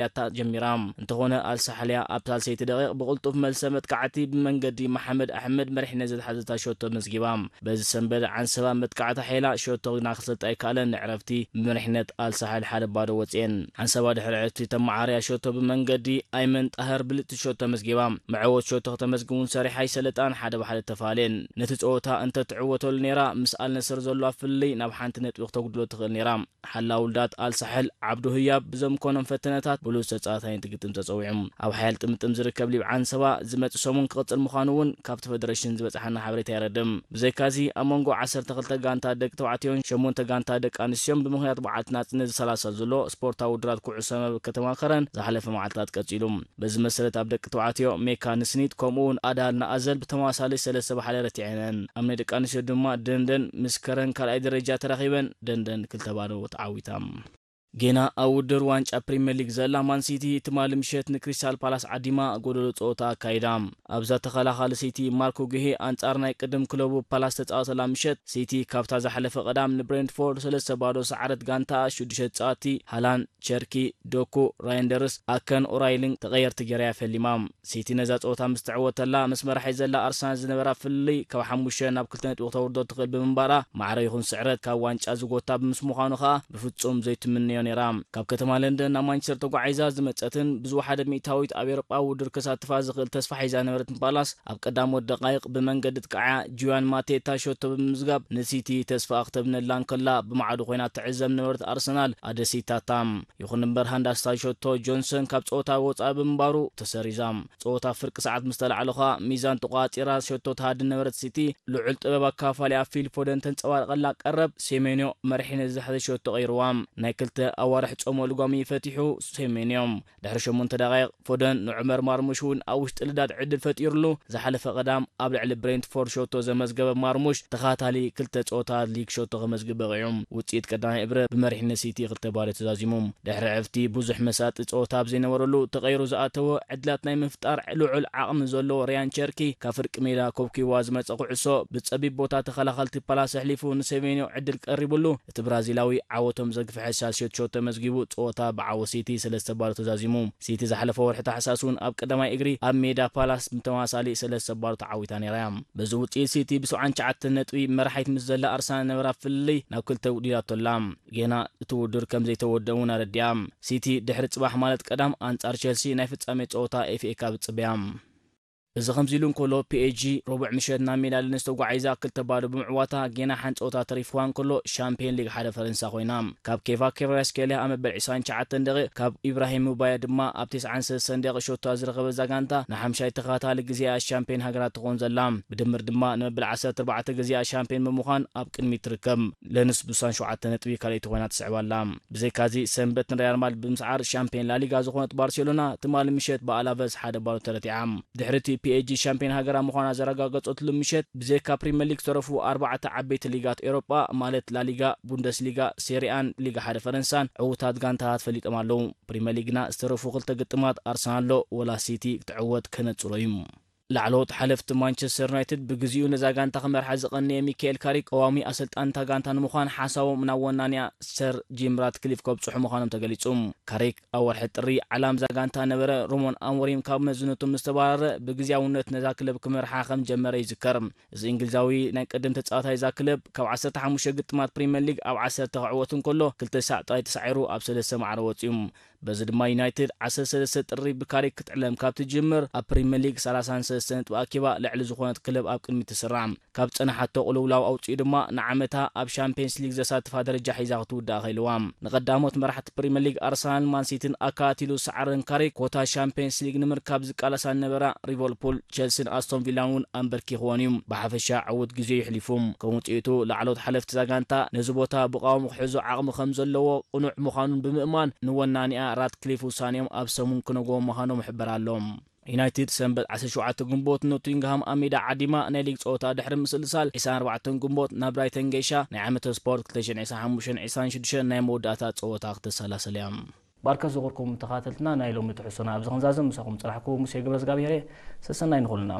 እያ ጀሚራ። እንተኾነ ኣልሳሕል እያ ኣብ ሳልሰይቲ ደቂቕ ብቕልጡፍ መልሰ መጥቃዕቲ ብመንገዲ መሓመድ ኣሕመድ መሪሕነት ዘትሓዘታ ሸቶ መዝጊባ። በዚ ሰንበት ዓንሰባ መጥቃዕታ ሓይላ ሸቶ ግና ክሰልጣ ኣይከኣለን። ንዕረፍቲ ብመሪሕነት ኣልሳሕል ሓደ ባዶ ወፅኤን። ዓንሰባ ድሕሪ ዕረፍቲ ተመዓርያ ሸቶ ብመንገዲ ኣይመን ጣህር ብልፅቲ ሸቶ መዝጊባ። መዕወት ሸቶ ከተመዝግቡን ሰሪሓ ኣይሰለጣን ሓደ ብሓደ ተፋልየን። ነቲ ፀወታ እንተትዕወተሉ ነይራ ምስ ኣልነስር ዘለዋ ፍልልይ ናብ ሓንቲ ነጥቢ ክተጉድሎ ትኽእል ነይራ። ሓላ ውልዳት ኣልሳሕል ዓብዱ ህያብ ብዘምኮኖም ፈተነታት ብሉጽ ተጻዋታይ እንትግጥም ተጸዊዑ። ኣብ ሓያል ጥምጥም ዝርከብ ሊብዓን ሰባ ዝመጽእ ሰሙን ክቕጽል ምዃኑ እውን ካብቲ ፈደረሽን ዝበጽሓና ሓበሬታ የረድም። ብዘይካዚ ኣብ መንጎ ዓሰርተ ክልተ ጋንታ ደቂ ተባዕትዮን ሸሞንተ ጋንታ ደቂ ኣንስትዮን ብምኽንያት በዓልቲ ናጽነት ዝሰላሰል ዘሎ ስፖርታዊ ውድድራት ኩዕሶ መረብ ከተማ ከረን ዝሓለፈ መዓልታት ቀጺሉ። በዚ መሰረት ኣብ ደቂ ተባዕትዮ ሜካ ንስኒት ከምኡ እውን ኣዳል ንኣዘል ብተመሳሳሊ ሰለስተ ብሓደ ረቲዐነን። ኣብ ናይ ደቂ ኣንስትዮ ድማ ደንደን ምስ ከረን ካልኣይ ደረጃ ተራኺበን ደንደን ክልተ ባዶ ተዓዊታ። ጌና ኣብ ውድድር ዋንጫ ፕሪምየር ሊግ ዘላ ማን ሲቲ ትማሊ ምሸት ንክሪስታል ፓላስ ዓዲማ ጎደሎ ፀወታ ኣካይዳ። ኣብዛ ተኸላኻሊ ሲቲ ማርኮ ጉሄ ኣንጻር ናይ ቅድም ክለቡ ፓላስ ተፃወተላ ምሸት ሲቲ ካብታ ዝሓለፈ ቀዳም ንብሬንትፎርድ ሰለስተ ባዶ ሰዓረት ጋንታ ሽዱሽተ ተፃወቲ ሃላንድ፣ ቸርኪ፣ ዶኩ፣ ራይንደርስ፣ ኣከን ኦራይልን ተቐየርቲ ገይራ እያ ፈሊማ። ሲቲ ነዛ ጸወታ ምስ ትዕወተላ ምስ መራሒ ዘላ ኣርሰናል ዝነበራ ፍልልይ ካብ ሓሙሽተ ናብ ክልተ ነጥቢ ክተውርዶ ትኽእል ብምንባራ ማዕረ ይኹን ስዕረት ካብ ዋንጫ ዝጎታ ብምስ ምዃኑ ከኣ ብፍጹም ዘይትምነዮ ነይራ። ካብ ከተማ ለንደን ናብ ማንቸስተር ተጓዒዛ ዝመጸትን ብዝወሓደ ሚእታዊት ኣብ ኤውሮጳዊ ውድድር ከሳትፋ ዝኽእል ተስፋ ሒዛ ነበረትን ፓላስ ኣብ ቀዳሞት ደቃይቕ ብመንገዲ ጥቃዓ ጁያን ማቴታ ሸቶ ብምምዝጋብ ንሲቲ ተስፋ ክተብነላ እንከላ ብማዕዶ ኮይና ትዕዘብ ነበረት ኣርሰናል ኣደሲታታ። ይኹን እምበር ሃንዳስታ ሸቶ ጆንሰን ካብ ጸወታ ወጻኢ ብምንባሩ ተሰሪዛ። ጸወታ ፍርቂ ሰዓት ምስ ተላዕለ ኸኣ ሚዛን ተቋጺራ ሸቶ ትሃድን ነበረት ሲቲ ልዑል ጥበብ ኣካፋሊኣ ፊል ፎደን ተንጸባርቐላ ቀረብ ሴሜንዮ መሪሕነት ዝሓዘ ሸቶ ቀይርዋ። ናይ ክልተ ኣዋርሕ ጾመ ልጓሚ ፈቲሑ ሴሜንዮ። ድሕሪ ሸሞንተ ደቓይቕ ፎደን ንዑመር ማርሙሽ እውን ኣብ ውሽጢ ልዳት ዕድል ፈጢሩሉ። ዝሓለፈ ቀዳም ኣብ ልዕሊ ብሬንትፎርድ ሸቶ ዘመዝገበ ማርሙሽ ተኻታሊ ክልተ ጸወታ ሊግ ሸቶ ከመዝግብ በቒዑ። ውጽኢት ቀዳማይ እብረ ብመሪሕነት ሲቲ ክልተ ባዶ ተዛዚሙ። ድሕሪ ዕፍቲ ብዙሕ መሳጢ ጸወታ ኣብ ዘይነበረሉ ተቐይሩ ዝኣተወ ዕድላት ናይ ምፍጣር ልዑል ዓቕሚ ዘለዎ ሪያን ቸርኪ ካብ ፍርቂ ሜዳ ኮብኪዋ ዝመጸ ኩዕሶ ብጸቢብ ቦታ ተኸላኸልቲ ፓላስ ኣሕሊፉ ንሴሜንዮ ዕድል ቀሪቡሉ። እቲ ብራዚላዊ ዓወቶም ዘግፍሐ ሳልስዮት ሸቶ ተመዝጊቡ ጸወታ ብዓወት ሲቲ ሰለስተ ባዶ ተዛዚሙ። ሲቲ ዝሓለፈ ወርሒ ታሕሳስ እውን ኣብ ቀዳማይ እግሪ ኣብ ሜዳ ፓላስ ብተመሳሳሊ ሰለስተ ባዶ ተዓዊታ ነይራ እያ። በዚ ውጽኢት ሲቲ ብ ሰብዓን ትሽዓተን ነጥቢ መራሒት ምስ ዘላ ኣርሰናል ነበራ ፍልልይ ናብ ክልተ ውዲላቶ ኣላ። ጌና እቲ ውድድር ከም ዘይተወደአ እውን ኣረዲኣ። ሲቲ ድሕሪ ጽባሕ ማለት ቀዳም ኣንጻር ቸልሲ ናይ ፍጻሜ ጸወታ ኤፍ ኤ ካፕ ይጽበያ። እዚ ከምዚ ኢሉ እንከሎ ፒ ኤስ ጂ ረቡዕ ምሸት ናብ ሜዳ ለንስ ተጓዒዛ ክልተ ባዶ ብምዕዋታ ጌና ሓንቲ ጸወታ ተሪፍዋ እንከሎ ሻምፒዮን ሊግ ሓደ ፈረንሳ ኮይና። ካብ ኬቫ ኬቫራስኬልያ ኣብ መበል ዕስራን ትሽዓተን ደቂቕ ካብ ኢብራሂም ሙባየ ድማ ኣብ ተስዓን ሰለስተን ደቂቕ ሸቶ ዝረኸበ እዛ ጋንታ ንሓምሻይ ተኸታታሊ ግዜኣ ሻምፒዮን ሃገራት ትኾን ዘላ። ብድምር ድማ ንመበል ዓሰርተ ኣርባዕተ ግዜኣ ሻምፒዮን ብምዃን ኣብ ቅድሚት ትርከብ። ለንስ ብሳን ሸውዓተ ነጥቢ ካልኣይቲ ኮይና ትስዕብ ኣላ። ብዘይካዚ ሰንበት ንሪያል ማድሪድ ብምስዓር ሻምፒዮን ላሊጋ ዝኾነት ባርሴሎና ትማሊ ምሸት ብኣላቨስ ሓደ ባዶ ተረቲዓ። ድሕሪ እቲ ፒ ኤስ ጂ ሻምፒዮን ሃገራ ምዃና ዘረጋገጸትሉ ምሸት ብዘይካ ፕሪምየር ሊግ ዝተረፉ ኣርባዕተ ዓበይቲ ሊጋት ኤውሮጳ ማለት ላሊጋ፣ ቡንደስሊጋ፣ ሴሪኣን ሊጋ ሓደ ፈረንሳን ዕዉታት ጋንታታት ፈሊጦም ኣለዉ። ፕሪምየር ሊግና ዝተረፉ ክልተ ግጥማት ኣርሰናል ዶ ወላ ሲቲ ክትዕወት ከነጽሮ እዩ። ላዕለዎት ሓለፍቲ ማንቸስተር ዩናይትድ ብግዚኡ ነዛ ጋንታ ክመርሓ ዝቐነየ ሚካኤል ካሪክ ቀዋሚ ኣሰልጣኒ እታ ጋንታ ንምዃን ሓሳቦም ናብ ወናንያ ሰር ጂም ራትክሊፍ ከብጽሑ ምዃኖም ተገሊጹ። ካሪክ ኣብ ወርሒ ጥሪ ዓላም እዛ ጋንታ ነበረ ሮሞን ኣሞሪም ካብ መዝነቱ ምስ ተባረረ ብግዝያውነት ነዛ ክለብ ክመርሓ ከም ጀመረ ይዝከር። እዚ እንግሊዛዊ ናይ ቅድም ተጻዋታይ እዛ ክለብ ካብ ዓሰርተ ሓሙሽተ ግጥማት ፕሪምየር ሊግ ኣብ ዓሰርተ ክዕወት እንከሎ ክልተ ሳዕ ጥራይ ተሳዒሩ ኣብ ሰለስተ ማዕረ ወጺኡ። በዚ ድማ ዩናይትድ ዓሰርተ ሰለስተ ጥሪ ብካሪክ ክትዕለም ካብ ትጅምር ኣብ ፕሪምየር ሊግ ሰላሳን ሰለስተ ነጥቢ ኣኪባ ልዕሊ ዝኾነት ክለብ ኣብ ቅድሚት ትስራዕ። ካብ ጸናሓቶ ቅልውላው ኣውጺኡ ድማ ንዓመታ ኣብ ሻምፒየንስ ሊግ ዘሳትፋ ደረጃ ሒዛ ክትውዳእ ኸኢልዋ። ንቐዳሞት መራሕቲ ፕሪምየር ሊግ ኣርሰናልን ማንሲቲን ኣካቲሉ ዝሰዓረን ካሪክ ኮታ ሻምፒየንስ ሊግ ንምርካብ ዝቃለሳ ዝነበራ ሊቨርፑል፣ ቸልሲን ኣስቶን ቪላን እውን ኣንበርኪኽወን እዩ። ብሓፈሻ ዕዉት ግዜ የሕሊፉ። ከም ውጽኢቱ ላዕለዎት ሓለፍቲ እዛ ጋንታ ነዚ ቦታ ብቃወም ክሕዞ ዓቕሚ ከም ዘለዎ ቅኑዕ ምዃኑን ብምእማን ንወናኒኣ ራትክሊፍ ውሳኔኦም ኣብ ሰሙን ክነግዎም ምዃኖም ይሕበር ኣሎ። ዩናይትድ ሰንበት ዓሰርተ ሸውዓተ ግንቦት ኖቲንግሃም ኣብ ሜዳ ዓዲማ ናይ ሊግ ጸወታ ድሕሪ ምስልሳል፣ ዕስራን ኣርባዕተን ግንቦት ናብ ብራይተን ገይሻ ናይ ዓመተ ስፖርት ክልተ ሽሕን ዕስራን ሓሙሽተን ዕስራን ሽዱሽተን ናይ መወዳእታ ጸወታ ክተሰላስል እያ። ባርከ ዝኸበርኩም ተኸታተልትና ናይ ሎሚ ትሕዝቶና ኣብዚ ክንዛዝም ምሳኹም ጸናሕኩ ሙሴ ገብረዝጋብሄር እየ። ሰሰናይ ንኹልና።